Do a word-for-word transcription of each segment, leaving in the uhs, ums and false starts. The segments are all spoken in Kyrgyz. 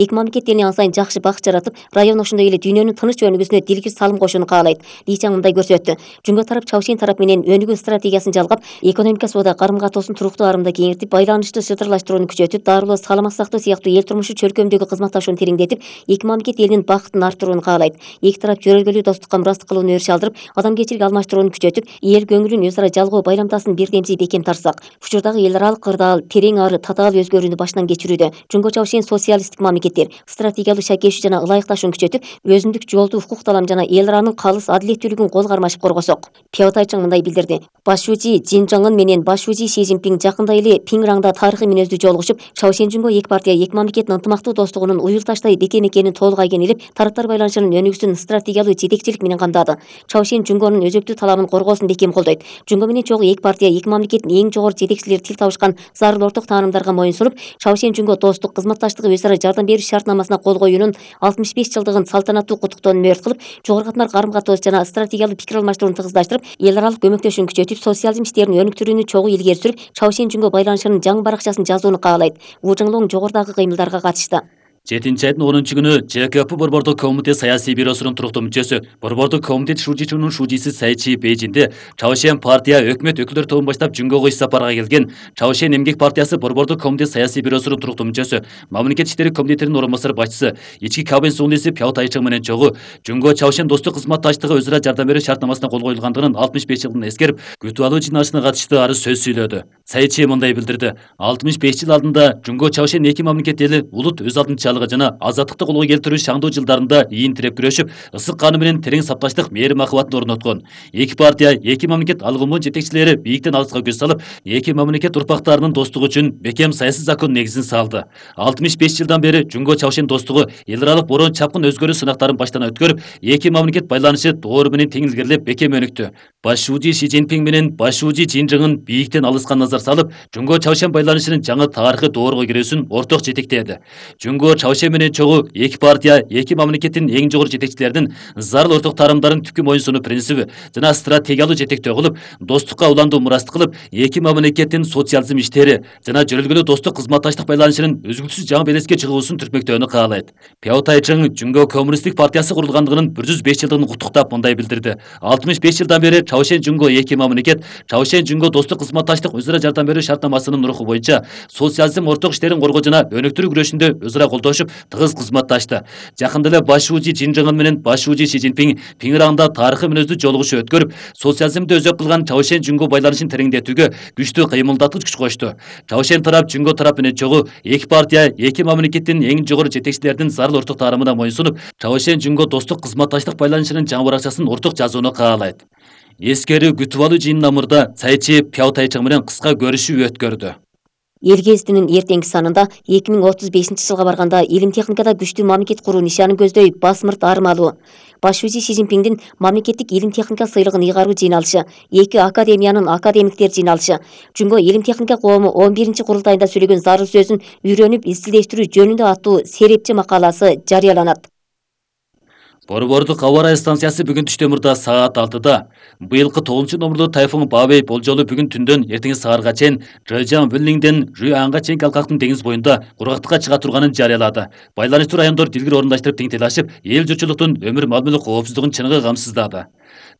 Эки мамлекет элине аң сайын жакшы бак жаратып, район ошондой эле дүйнөнүн тыныч өнүгүүсүнө дилгир салым кошууну каалайт. Ли Чаң мындай көрсөттү. Жумго тарап Чаушен тарап менен өнүгүү стратегиясын жалгап, экономика соода карым-катоосун туруктуу арымда кеңейтип, байланышты шытырлаштырууну күчөтүп, дарылоо, саламаттык сактоо сыяктуу эл турмушу чөлкөмдөгү кызматташууну тереңдетип, эки мамлекет элинин бакытын арттырууну каалайт. Эки тарап жөрөлгөлүү достукка мурастык кылууну өрүш алдырып, адамгерчилик алмаштырууну күчөтүп, эл көңүлүн өз ара жалгоо байрамтасын бирдемси бекем тартсак, учурдагы эл аралык кырдаал терең ары татаал өзгөрүүнү баштан кечирүүдө. Жумго Чаушен социалисттик мамлекеттер стратегиялуу шакешүү жана ылайыкташууну күчөтүп, өзүндүк жолду укук талам жана эл аранын калыс адилеттүүлүгүн кол кармашып коргосок. Пяо Тайчың мындай билдирди. Башчуучи Цзин Чжыңын менен башчуучи Си Цзиньпин жакында эле Пиңраңда тарыхый мүнөздүү жолугушуп, Чаушен Жумго эки партия эки мамлекеттин ынтымактуу достугунун уюлташтай бекем экенин толук айгинелеп, тараптар байланышынын өнүгүүсүн стратегиялуу жетекчилик менен камдады. Чаушен Жумгонун өзөктүү талабын коргоосун бекем колдойт. Жумго менен чогуу эки партия эки мамлекеттин эң жогору жетекчилери тил табышкан зарыл орток таанымдарга моюн сунуп, Чаушен Жумго достук, кызматташтыгы, өз ара жардам берүү шартнамасына кол коюунун алтымыш беш жылдыгын салтанаттуу куттуктоону мөөрт кылып, жогору катмар карым-катоос жана стратегиялуу пикир алмаштырууну тыгыздаштырып, эл аралык көмөктөшүүнү күчөтүп, социализм иштерин өнүктүрүүнү чогуу илгери сүрүп, Чаушен Жумго байланышынын жаңы баракчасын жазууну каалайт. Ву Жыңлоң жогорудагы кыймылдарга катышты. жетинчи айдын онунчу күнү Ж К П Борбордук комитет саясий бюросунун туруктуу мүчөсү, Борбордук комитет шужичунун шужиси Сайчи Бейжинде Чаушен партия өкмөт өкүлдөрү тобун баштап Жумгого иш сапарга келген. Чаушен эмгек партиясы Борбордук комитет саясий бюросунун туруктуу мүчөсү, мамлекет иштери комитетинин орун басары башчысы, ички кабинет суундуси Пяо Тайчың менен чогуу Жумго Чаушен достук кызматташтыгы, өз ара жардам берүү шартнамасына кол коюлгандыгынын алтымыш беш жылдын эскерип, күтүп алуу жыйналышына катыштуу ары сөз сүйлөдү. Сайчи мындай билдирди. алтымыш беш жыл алдында Жумго Чаушен эки мамлекет эли улут өз алдынчалыгы жана азаттык колго келтирүү шаңдуу жылдарында ийин тиреп күрөшүп, ысык каны менен терең сапташтык мээрим махабатын орноткон. Эки партия, эки мамлекет алгымы жетекчилери бийиктен алыска көз салып, эки мамлекет урпактарынын достугу үчүн бекем саясий закон негизин салды. алтымыш беш жылдан бери Жумго Чаушен достугу эл аралык борон чапкын өзгөрүү сынактарын баштан өткөрүп, эки мамлекет байланышы доору менен тең илгерилеп бекем өнүктү. Башчуучи Си Цзиньпин менен башчуучи Цзин Чжыңын бийиктен алыска назар салып, Жумго Чаушен байланышынын жаңы тарыхый доорго кирүүсүн орток жетектеди. Жумго Чаушен менен чогуу эки партия, эки мамлекеттин эң жогору жетекчилеринин зарыл орток тарымдарын түпкү моюн сунуу принциби жана стратегиялуу жетектөө кылып, достукка уландуу мурастык кылып, эки мамлекеттин социализм иштери жана жөрөлгөлүү достук кызматташтык байланышынын үзгүлтүсүз жаңы белеске чыгуусун түртмөктөөнү каалайт. Пяо Тайчың Жумго коммунисттик партиясы курулгандыгынын бир жүз беш жылдыгын куттуктап мындай билдирди. алтымыш беш жылдан бери Чаушен Жумго эки мамлекет, Чаушен Жумго достук кызматташтык, өз ара жардам берүү шартнамасынын руху боюнча социализм орток иштерин коргоо жана өнүктүрүү күрөшүндө өз ара колдошуп, тыгыз кызматташты. Жакында эле башчуучи Цзин Чжыңын менен башчуучи Си Цзиньпин Пиңраңда тарыхый мүнөздүү жолугушуу өткөрүп, социализмди өзөк кылган Чаушен Жумго байланышын тереңдетүүгө күчтүү кыймылдаткыч күч кошту. Чаушен тарап Жумго тарап менен чогуу эки партия, эки мамлекеттин эң жогору жетекчилеринин зарыл орток таарымына моюн сунуп, Чаушен Жумго достук кызматташтык байланышынын жаңы баракчасын орток жазууну каалайт. Эскерүү күтүп алуу жыйынына мурда Сайчи Пяо Тайчың менен кыска көрүшүү өткөрдү. Эл гезитинин эртеңки санында эки миң отуз бешинчи жылга барганда илим техникада күчтүү мамлекет куруу нишанын көздөй басмырт армалуу. Башчуучи Си Цзиньпиндин мамлекеттик илим техника сыйлыгын ыйгаруу жыйналышы, эки академиянын академиктер жыйналышы, Жумго илим техника коому он биринчи курултайында сүйлөгөн зарыл сөзүн үйрөнүп изилдештирүү жөнүндө аттуу серепчи макаласы жарыяланат. Борбордук аба ырайы станциясы бүгүн түштө мурда саат алтыда быйылкы тогузунчу номурлуу тайфун Бабей болжолу бүгүн түндөн эртең саарга чейин Жэжан Вэллиңден Жуанга чейинки алкактын деңиз боюнда кургактыкка чыга турганын жарыялады. Байланыштуу райондор дилгир орундаштырып теңтелашып, эл журтчулуктун өмүр мамиле коопсуздугун чыныгы камсыздады.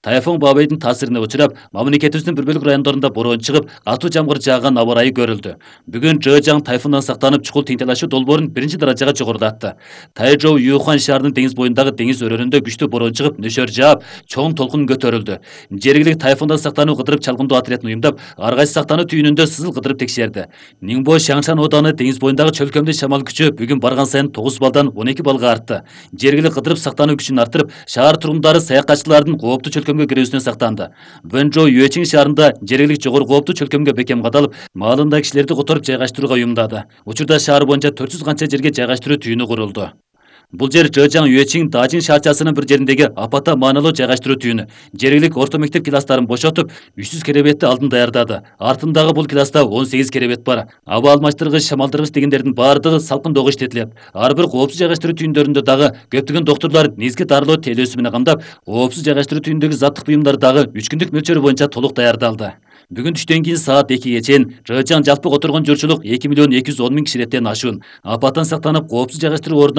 Тайфун Бабейдин таасирине учурап, мамлекетибиздин бир бөлүк райондорунда бороон чыгып, катуу жамгыр жааган аба ырайы көрүлдү. Бүгүн Жэжан тайфундан сактанып, чукул теңтелашуу долбоорун биринчи даражага жогорулатты. Тайжоу Юхан шаарынын деңиз боюндагы деңиз өрөөнүндө күчтүү бороон чыгып, нөшөр жаап, чоң толкун көтөрүлдү. Жергиликтик тайфундан сактануу кыдырып чалгындоо отрядын уюмдап, ар кайсы сактануу түйүнүндө сызыл кыдырып текшерди. Ниңбо Шаңшан ооданы деңиз боюндагы чөлкөмдү шамал күчү бүгүн барган сайын тогуз балдан он эки балга артты. Жергиликтик кыдырып сактануу күчүн арттырып, шаар тургундары саякатчылардын кооптуу чөлкөмгө кирүүсүнөн сактанды. Вэнжоу Юэчиң шаарында жергиликтик жогору кооптуу чөлкөмгө бекем кадалып, маалында кишилерди которуп жайгаштырууга уюмдады. Учурда шаар боюнча төрт жүз канча жерге жайгаштыруу түйүнү курулду. Бул жер Жэжан Юэчиң Дажин шаарчасынын бир жериндеги апата маанилүү жайгаштыруу түйүнү. Жергиликтик орто мектеп класстарын бошотуп, үч жүз керебетти алдын даярдады. Артындагы бул класста он сегиз керебет бар. Аба алмаштыргыч, шамалдыргыч дегендердин баардыгы салкындоого иштетилет. Ар бир коопсуз жайгаштыруу түйүндөрүндө дагы көптөгөн доктурлар негизги дарылоо тейлөөсү менен камдап, коопсуз жайгаштыруу түйүндөгү заттык буюмдар дагы үч күндүк мөлчөрү боюнча толук даярдалды. Бүгүн түштөн кийин саат экиге чейин Жыгычаң жалпы которгон журчулук эки миллион эки жүз он миң кишилеттен ашуун. Апаттан сактанып, коопсуз жайгаштыруу ордуна